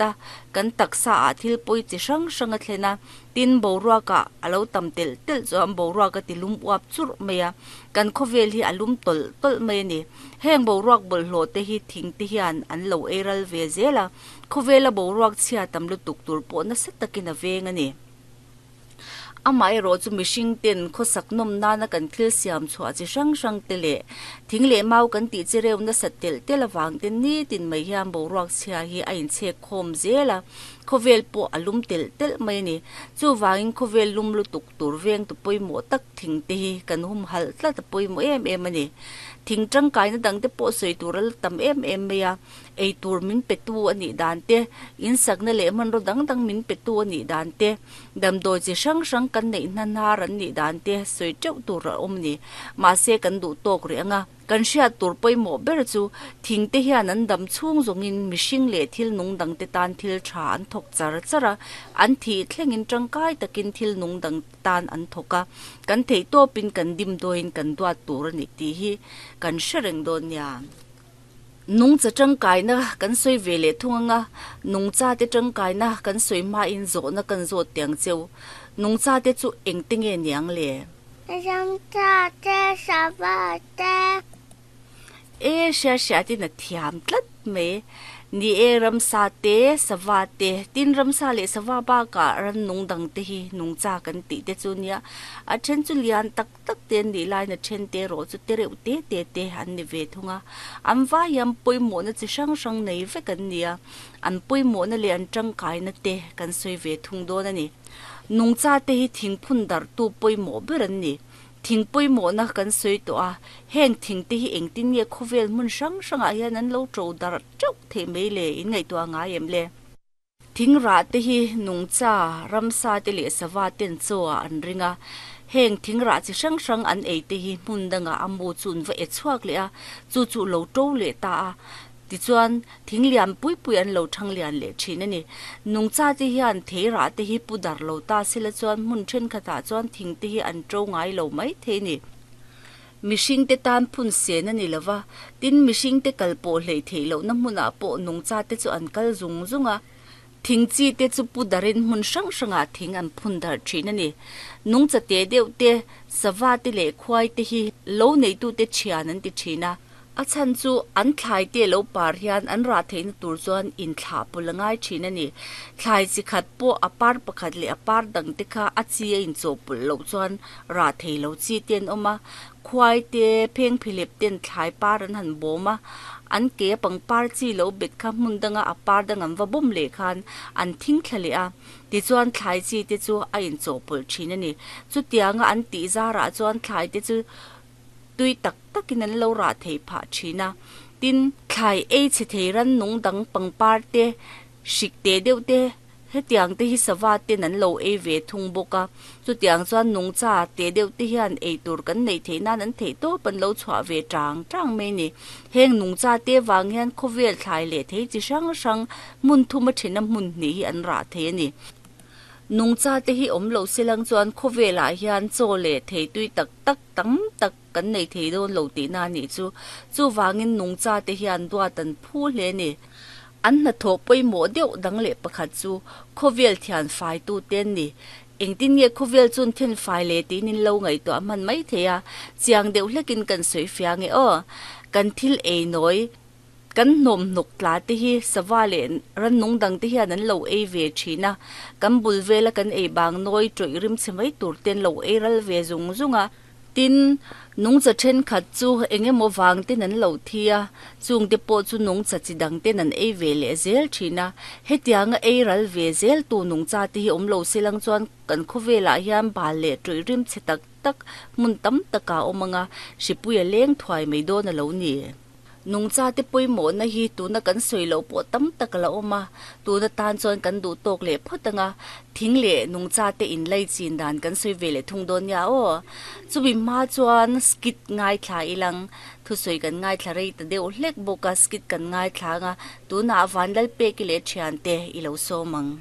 a, kan taksa ah thil pawi chi hrang hrang a thlen a, tin boruak ah a lo tam telh telh chuan boruak a ti lum uap churh mai a, kan khawvel hi a lum tawlh tawlh mai a ni. Heng boruak bawlhhlawh te hi thing te hian an lo ei ral ve zel a, khawvela boruak chhia tam lutuk tur pawh nasa takin a veng a ni. Amaherawh chu mihring ten khawsak nawm nana kan thil siam chhuah chi hrang hrang te leh thing leh mau kan tih chi reuh nasat telh telh avang te nitin mai hian boruak chhia hi a inchhek khawm zel a, khawvel pawh a lum telh telh mai a ni. Chuvangin khawvel lum lutuk tur vengtu pawimawh tak thing te hi kan humhalh tlat a pawimawh em em a ni. Thing tangkaina dang te pawh sawi tur a la tam em em mai a. Ei tur min petu a nih dan te, insakna leh hmanraw dang dang min petu a nih dan te, damdawi chi hrang hrang kan neih hna hnar an nih dan te sawi teuh tur a awm a ni. Mahse kan duh tawk rih ang a. Kan hriat tur pawimawh ber chu thing te hian an dam chhung zawngin mihring leh thil nung dang te tan thil tha an thawk char char a, an thih thlengin tangkai takin thil nung dang te tan an thawk a, kan theih tawpin kan dimdawiin kan duat tur a ni tih hi kan hre reng dawn nia. Nungcha tangkaina kan sawi ve leh thung anga, nungcha te tangkaina kan sawi hmain zawhna kan zawt tiang cheu. Nungcha te chu engte nge niang le? Ramcha te, sava te. E hria hria tin a thiam tlat mai. Ni e, ramsa te, sava te, tin ramsa leh sava bakah rannung dang te hi nungcha kan tih te chu nia. A then chu lian tak tak te an nih laiin a then te erawh chu te reuh te te te an ni ve thung a. An vai hian pawimawhna chi hrang hrang nei vek an ni a, an pawimawhna leh an tangkaina te kan sawi ve thung dawn a ni. Nungcha te hi thingphun darhtu pawimawh ber an ni. Thing pawimawhna kan sawi tawh a, heng thing te hi engtin nge khawvel hmun hrang hrangah hian an lo to darh teuh theih mai le in ngaihtuah ngai em le? Thing rah te hi nungcha, ramsa te leh sava ten chaw ah an ring a, heng thing rah chi hrang hrang an ei te hi hmun dangah a mu chu an va e chhuak leh a, chu chu lo to leh ta a, tichuan thing lian pui pui an lo thang lian leh thin a ni. Nungcha te hian thei rah te hi pu dar lo ta sela chuan hmun thenkhatah chuan thing te hi an to ngai lo mai thei a ni. Mihring te tan phun sen a ni lo va, tin mihring te kal pawh hleih theih lohna hmunah pawh nungcha te chu an kal zung zung a. Thing chi te chu pu darin hmun hrang hrangah thing an phun darh thin a ni. Nungcha te deuh te, sava te leh khuai te hi lo neitute thian an ti thin a. A chhan chu an thlai te lo par hian an rah theihna tur chuan inthlah pawlh a ngai thin a ni. Thlai chi khat pawh a par pakhat leh a par dang te kha a chi a inchawhpawlh loh chuan rah thei lo chi te an awm a. Khuai te, phengphehlep ten thlai par an han bawm a, an ke a pangpar chi lo bet kha hmun danga a par dang an va bawm leh khan an thing thla leh a. Tichuan thlai chi te chu a inchawhpawlh thin a ni. Chutianga an tih zarah chuan thlai te chu tui tak takin an lo rah thei phah thin a. Tin, thlai ei chhe thei rannung dang pangpar te, hrik te deuh te, hetiang te hi sava ten an lo ei ve thung bawk a. Chutiang chuan nungcha te deuh te hian ei tur kan neih theih nan an theih tawp an lo chhuah ve tang tang mai a ni. Heng nungcha te vang hian khawvel thlai leh thei chi hrang hrang hmun thum a thena hmun hnih hi an rah thei a ni. Nungcha te hi awm loh silang chuan khawvelah hian chaw leh thei tui tak tak tam tak kan nei thei dawn lo tihna a nih chu. Chuvangin nungcha te hian duat an phu hle a ni. An hnathawh pawimawh deuh dang leh pakhat chu khawvel thian faitu te an ni. Engtin nge khawvel chuan then fai leh tiin in lo ngaihtuah hman mai thei a, chiang deuh hlekin kan sawi fia nge aw. Kan thil ei nawi. Kan hnawm hnawk tla te hi sava leh rannung dang te hian an lo ei ve thin a, kan bul vela kan ei bang nawi tawih rim chhe mai tur te an lo ei ral ve zung zung a. Tin, nungcha thenkhat chu eng emaw vang ten an lo thi a, chung te pawh chu nungcha chi dang ten an ei ve leh zel thin a. Hetianga ei ral ve zel tu nungcha te hi awm lo se lang chuan kan khawvelah hian bal leh tawih rim chhe tak tak hmun tam takah a awm ang a, hripui a leng thuai mai dawn a lo ni. Nungcha te pawimawhna hi tuna kan sawi loh pawh tam tak a la awm a, tuna tan chuan kan duh tawk leh phawt ang a, thing leh nungcha te inlai chin dan kan sawi ve leh thung dawn nia aw. Chumi hma chuan skit ngaithla ilang, thusawi kan ngaithla rei ta deuh hlek bawk a, skit kan ngaithla ang a, tunah Vanlalpeki leh thiante i lo sawm ang.